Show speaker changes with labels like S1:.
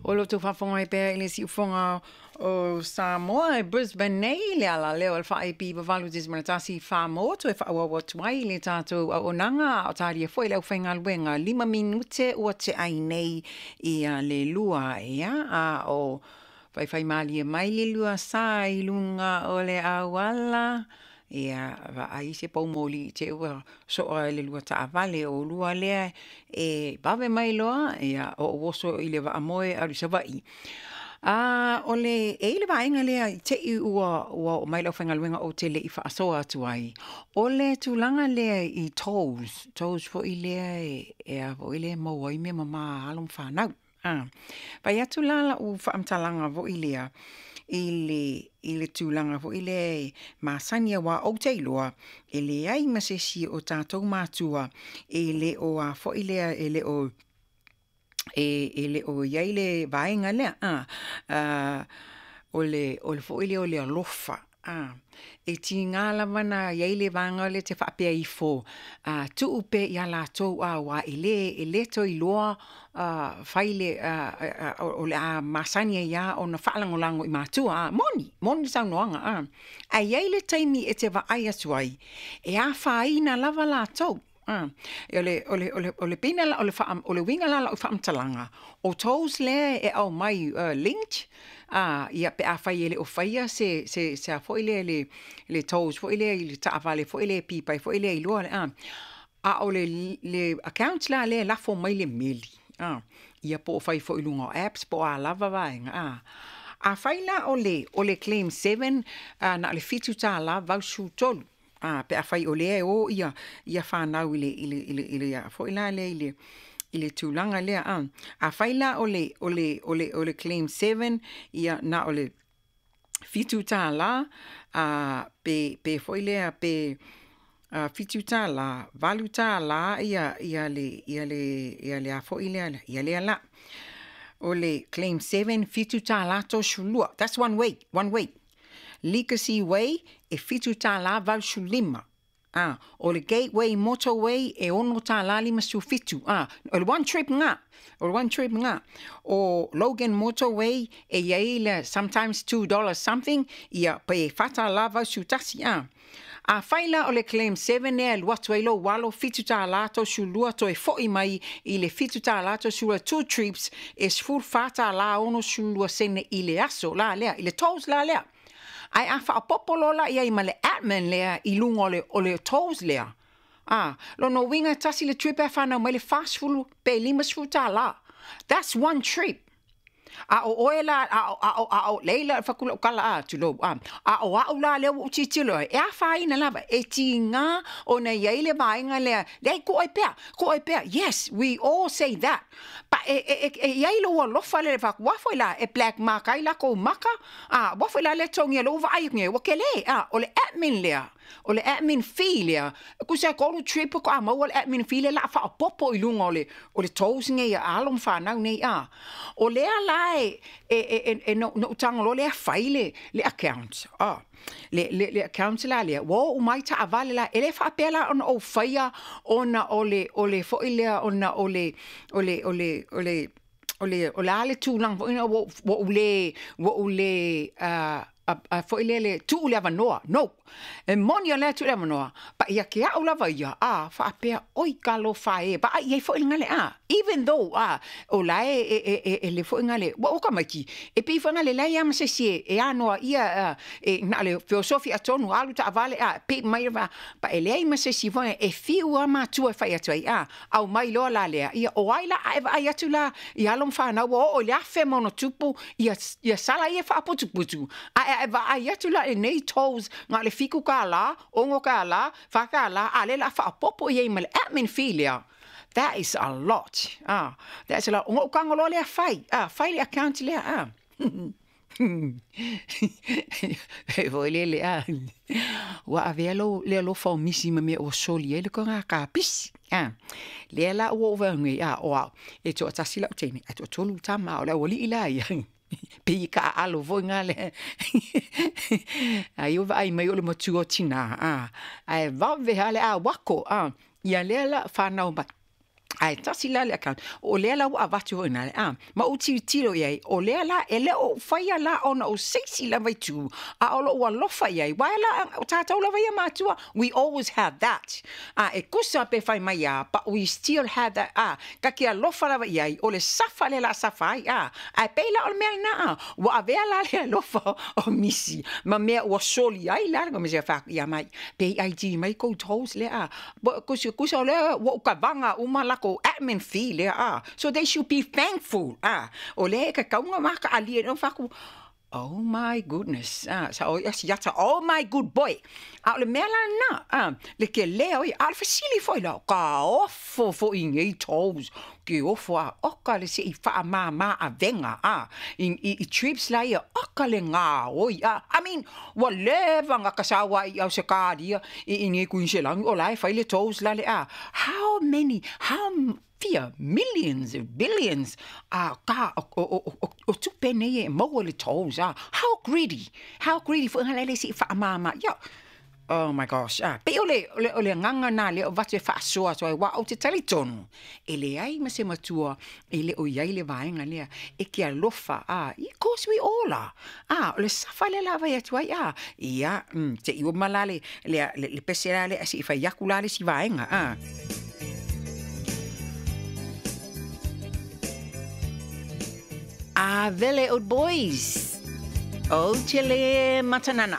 S1: O lo o outou faafofoga mai pea i le Siufofoga o Samoa i Brisbane nei, le ala lea o le 4AP 8.1 motu e faaauau atu ai le tatou auaunaga a o talia foi le aufaigaluega. 5 minute ua tea ai nei ia le 2, ia, a o faifaimalie mai le lua sa i luga o le auala. Ia, vaai se poumoli i te i ua soa e le lua taavale o oulua lea e vave mai loa, ia, ou oso i le vaamoe e alu i Savaii. O le, e i ai le vaega lea i te i ua oo mai le aufaigaluega ou te le i faasoa atu ai, o le tulaga lea i tolls, tolls foi lea e a foi lea e maua ai mea mama a alo ma fanau. Fai atu la lau faamatalaga foi lea i le tulaga foi lea e masani, aua ou te iloa e leai ma se isi o tatou matua e le o a foi lea e le o i ai le vaega lea, o le foi lea o le alofa. E tiga lava na i ai le vaega lea e te faapea ifo, tuu pea ia latou, aua e le toe iloa fai le, o le a masani ai lava ona faalagolago i matua. Moni, moni le saunoaga. Ae i ai le taimi e te vaai atu ai, e afaina lava latou. O le uiga la o lau faamatalaga, o tolls lea e aumai linked, ia pe afai e le o faia se a foi lea le tolls foi lea i le taavale foi lea e pipai foi lea i luga, a o le account la lea e lafo mai le meli, ia po o fai foi i luga o apps po o a lava vaega. Afai la o le claim 7 na o le $7.83, pe afai o lea e o ia fanau i le foi la lea i le tulaga lea. Afai la o le claim 7 ia na o le $7, pe foi lea pe $7, $8 ia le a foi lea, ia lea la. O le claim 7, $7.32. That's one way, one way. Legacy Way e $7.85. O le Gateway Motorway e $6.57. O le one trip nga. O le one trip nga. O Logan Motorway e i ai le sometimes $2 something, ia pe $4.81. Afai la o le claim 7 ea e alu atu ai lou alo $7.32 toe foi mai i le $7.32, two trips e $14.62 i le aso la lea, i le tolls la lea. Ae a faaopoopo loa la i ai ma le admin lea i luga o le tolls lea, lona uiga e tasi le trip e fanau mai le 40 pe $50. That's one trip. A o oe la, a o leila whakula o kala a tulou, a o au la lea ua tilotilo ai, e afaina lava, e tiga ona i ai le vaega lea, leai ko ai pea, ko ai pea. Yes, we all say that. Pa e i ai lou alofa le whaku, wa foi la, e black mark ai la kou maka, wa foi la le tongi lou vaai nge, wa kele, o le admin lea, o le admin fee lea, kusa kolu trip ko a maua le admin fee lea la faaopoopo i luga o le tolls nei a alo ma fanau nei, O lea la e no tago loa lea fai le account, le account la lea, ua oo mai taavale la, e le faapea la ona ou faia ona o le foi lea ona o le o le o le o le o le o le a le tulaga foi ua ou le foi lea le tuu le avanoa. No, e moni o lea tuu le avanoa, pa ia ke au lava ia, faapea, oi talofa e, vaai i ai foi le gale, even though, o la e le foi gale, ua o tamaiti, e pei foi gale leai lava ma se isi e anoa ia, e na o le feosofi atonu, alu taavale, pe mai, pa e leai ma se isi foi, e fiu lava matua e fai atu ai, aumai loa la lea, ia o ai la, a e vaai atu la, i alo ma fanau, ua oo i le 1,000+, ia sala ia faaputuputu, a e vaai atu la i nei tolls, na o le $7, $6, $4, a lea o le a faaopoopo i ai ma le admin fee lea. That is a lot. That's a lot. Ona ou tago loa lea fai. Fai le account lea. E foi lele, ua avea le alofa o misi ma mea ua soli ai le toga kapisi. Lea la ua ou vaai nei, o au, e toatasi lau teine, ae toatolu tama, o le aualii la ia. Pei ka aalo foi ngā le. Ai o vaai mai o le matua o tina, ae vave ha le a wako, ia lea la whanau mai. Ae tasi la le account, o lea la ua avatu foi ina a, ma ou tilotilo i ai, o lea la, e le o ou faia la ona o se isi lava itu, a o lou alofa i ai, aua la, o tatou lava ia matua, we always have that. A, e tusa pe fai mai a, but we still have that, a, ka ke alofa lava i ai, o le safa lea o le a safa ai, a, ae pei la o le mea lena, a, ua avea la le alofa o misi ma mea ua soli ai la le Komisi e ia mai, pe i ID mai kou tolls lea, a, kusa o lea ua ou kavaga uma lakou admin fee lea, a, so they should be thankful, a, o lea e kakauga ma ka alia no faku. Oh my goodness, a, sa o ia siata, oh my good boy. A o le mea la na, a, le ke lea o ia, a o le fesili foi la, ka ofo foi nei tolls, ke ofo a, oka le se i whaamā avega, a, i trips la ia, oka le ngā oi, a, I mean, ua leva nga kasawa i au se kāria, i nei kuinselangi, o la e fai le tolls la le, a, how many, how fia millions, billions, a ka o tupe nei e maua le tolls, a, how greedy foi ngā lele si whaamāmā, ia. Oh my gosh, ah, pe o le agaga na lea o vatu e faasoa atu ai, aua ou te talitonu, e leai ma se matua e le o i ai le vaega lea, e ke alofa, ah, of course we all are, ah, o le safa lea la vai atu ai, ah, ia, te i o ma la le pese la le, se i fai aku la le si vaega, ah. A vele old boys, o te le matanana.